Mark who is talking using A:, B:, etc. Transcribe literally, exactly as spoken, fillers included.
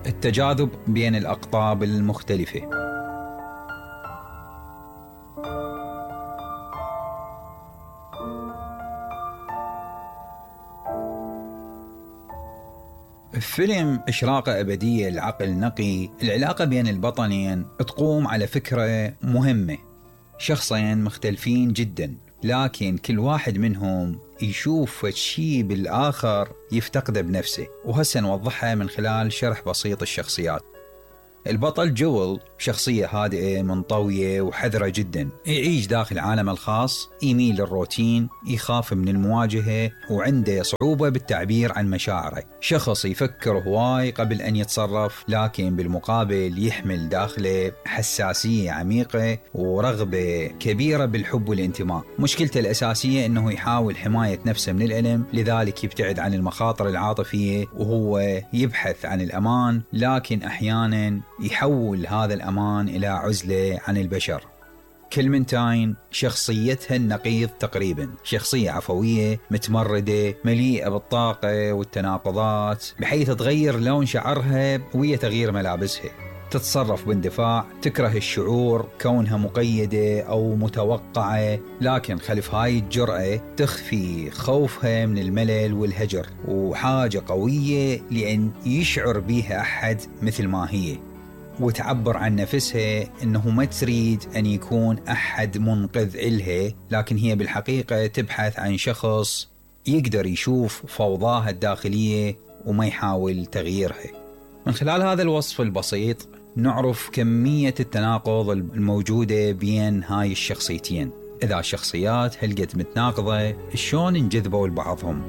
A: التجاذب بين الأقطاب المختلفة. فيلم إشراقة أبدية العقل نقي، العلاقة بين البطلين تقوم على فكرة مهمة. شخصين مختلفين جدا، لكن كل واحد منهم يشوف شيء بالآخر يفتقده بنفسه، وهسه نوضحها من خلال شرح بسيط الشخصيات. البطل جويل شخصية هادئة منطوية وحذرة جدا، يعيش داخل عالم الخاص، يميل للروتين، يخاف من المواجهة، وعنده صعوبة بالتعبير عن مشاعره. شخص يفكر هواي قبل أن يتصرف، لكن بالمقابل يحمل داخله حساسية عميقة ورغبة كبيرة بالحب والانتماء. مشكلته الأساسية أنه يحاول حماية نفسه من الألم، لذلك يبتعد عن المخاطر العاطفية وهو يبحث عن الأمان، لكن أحيانا يحول هذا الأمان إلى عزلة عن البشر. كلمنتاين شخصيتها النقيض تقريبا، شخصية عفوية متمردة مليئة بالطاقة والتناقضات، بحيث تغير لون شعرها وهي تغيير ملابسها. تتصرف باندفاع، تكره الشعور كونها مقيدة أو متوقعة، لكن خلف هاي الجرأة تخفي خوفها من الملل والهجر، وحاجة قوية لأن يشعر بيها أحد مثل ما هي، وتعبر عن نفسها أنه ما تريد أن يكون أحد منقذ إلها، لكن هي بالحقيقة تبحث عن شخص يقدر يشوف فوضاها الداخلية وما يحاول تغييرها. من خلال هذا الوصف البسيط نعرف كمية التناقض الموجودة بين هاي الشخصيتين. إذا الشخصيات هلقت متناقضة، شلون انجذبوا لبعضهم؟